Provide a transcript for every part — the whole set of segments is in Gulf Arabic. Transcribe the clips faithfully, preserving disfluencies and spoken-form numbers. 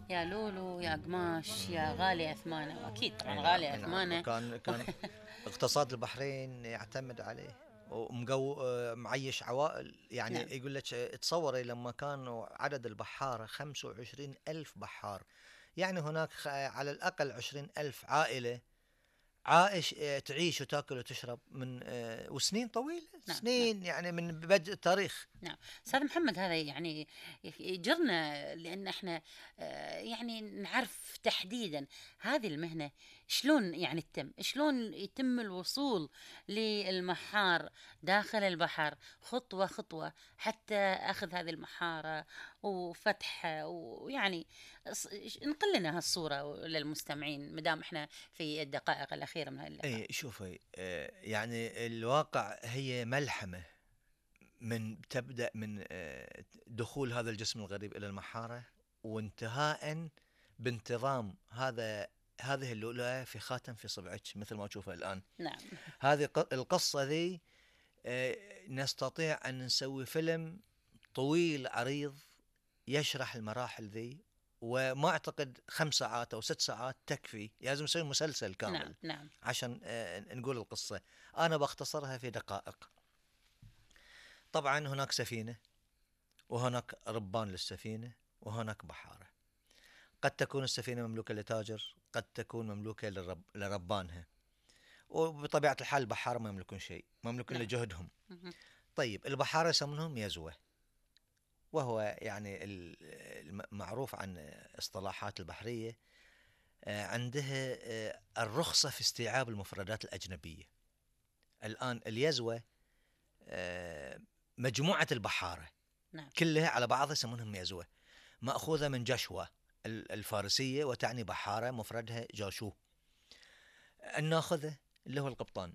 يا لولو يا قماش يا غالي أثمانه، وأكيد طبعا اي غالي نعم اي نعم، أثمانه. كان كان اقتصاد البحرين يعتمد عليه، ومقو معيش عوائل. يعني نعم يقول لك تصوري لما كانوا عدد البحارة خمسة وعشرين ألف بحار، يعني هناك خ- على الأقل عشرين ألف عائلة عائش، آه، تعيش وتاكل وتشرب من آه، وسنين طويلة، نعم نعم سنين يعني من بدء التاريخ. نعم. أستاذ محمد، هذا يعني يجرنا لأن احنا آه، يعني نعرف تحديدا هذه المهنة شلون يعني تتم، شلون يتم الوصول للمحار داخل البحر خطوة خطوة حتى أخذ هذه المحارة وفتحها، ويعني ص- نقل لنا هالصورة للمستمعين مدام احنا في الدقائق الأخيرة من هذا اللقاء. اي شوفي، آه، يعني الواقع هي ملحمة، من تبدأ من آه، دخول هذا الجسم الغريب إلى المحارة، وانتهاء بانتظام هذا هذه اللؤلؤة في خاتم في صبعك مثل ما تشوفها الآن. نعم هذه ق- القصة ذي آه، نستطيع أن نسوي فيلم طويل عريض يشرح المراحل ذي، وما أعتقد خمس ساعات أو ست ساعات تكفي، لازم نسوي مسلسل نعم كامل نعم عشان آه، نقول القصة. أنا بختصرها في دقائق. طبعا هناك سفينة، وهناك ربان للسفينة، وهناك بحارة. قد تكون السفينة مملوكة لتاجر، قد تكون مملوكة للرب لربانها، وبطبيعة الحال البحارة ما يملكون شيء، مملوكون نعم لجهدهم. مهم. طيب البحارة يسمونهم يزوة، وهو يعني المعروف عن اصطلاحات البحرية، آه، عندها آه، الرخصة في استيعاب المفردات الأجنبية. الآن اليزوة آه، مجموعة البحارة نعم كلها على بعضها يسمونهم يزوة، مأخوذة من جاشوا الفارسية، وتعني بحارة، مفردها جاشو. الناخذة اللي هو القبطان،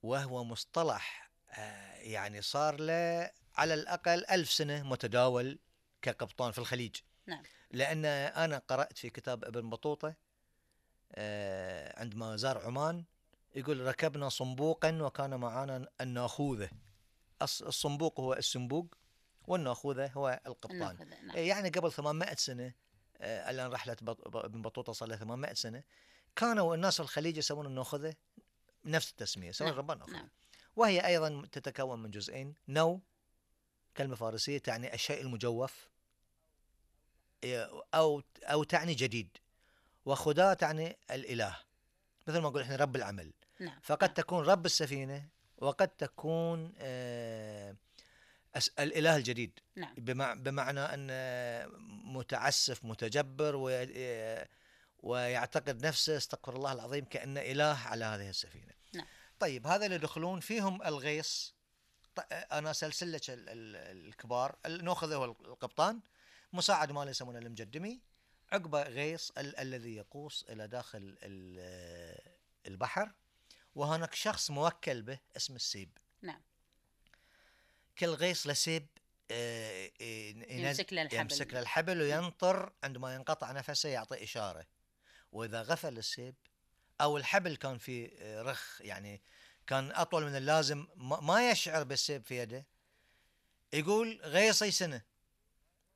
وهو مصطلح آه، يعني صار له على الأقل ألف سنة متداول كقبطان في الخليج. نعم لأن أنا قرأت في كتاب ابن بطوطة آه، عندما زار عمان، يقول ركبنا صنبوقا وكان معنا الناخوذة. الصنبوق هو السنبوق، والناخوذة هو القبطان. ناخذ نعم يعني قبل ثمانمائة سنة، آه، الآن رحلة ابن بطوطة صار لها ثمانمائة سنة، كانوا الناس في الخليج يسمون الناخذة نفس التسمية، يسمون نعم الربان ناخذة. نعم وهي أيضا تتكون من جزئين: نو كلمة فارسية تعني الشيء المجوف، أو أو تعني جديد، وخدا تعني الإله، مثل ما نقول إحنا رب العمل. نعم فقد نعم تكون رب السفينة، وقد تكون آه الإله الجديد، نعم بمعنى أن متعسف متجبر ويعتقد نفسه استغفر الله العظيم كأنه إله على هذه السفينة. نعم طيب هذا اللي يدخلون فيهم الغيص. أنا سلسلة الكبار، نأخذه هو القبطان، مساعد مالي يسمونه المجدمي، عقبة غيص ال- الذي يقوس إلى داخل البحر، وهناك شخص موكل به اسم السيب. نعم كل غيص لسيب يمسك له يمسك له الحبل. الحبل، وينطر عندما ينقطع نفسه يعطي إشارة. وإذا غفل السيب أو الحبل كان فيه رخ، يعني كان أطول من اللازم، ما يشعر بالسيب في يده، يقول غيصي سنة،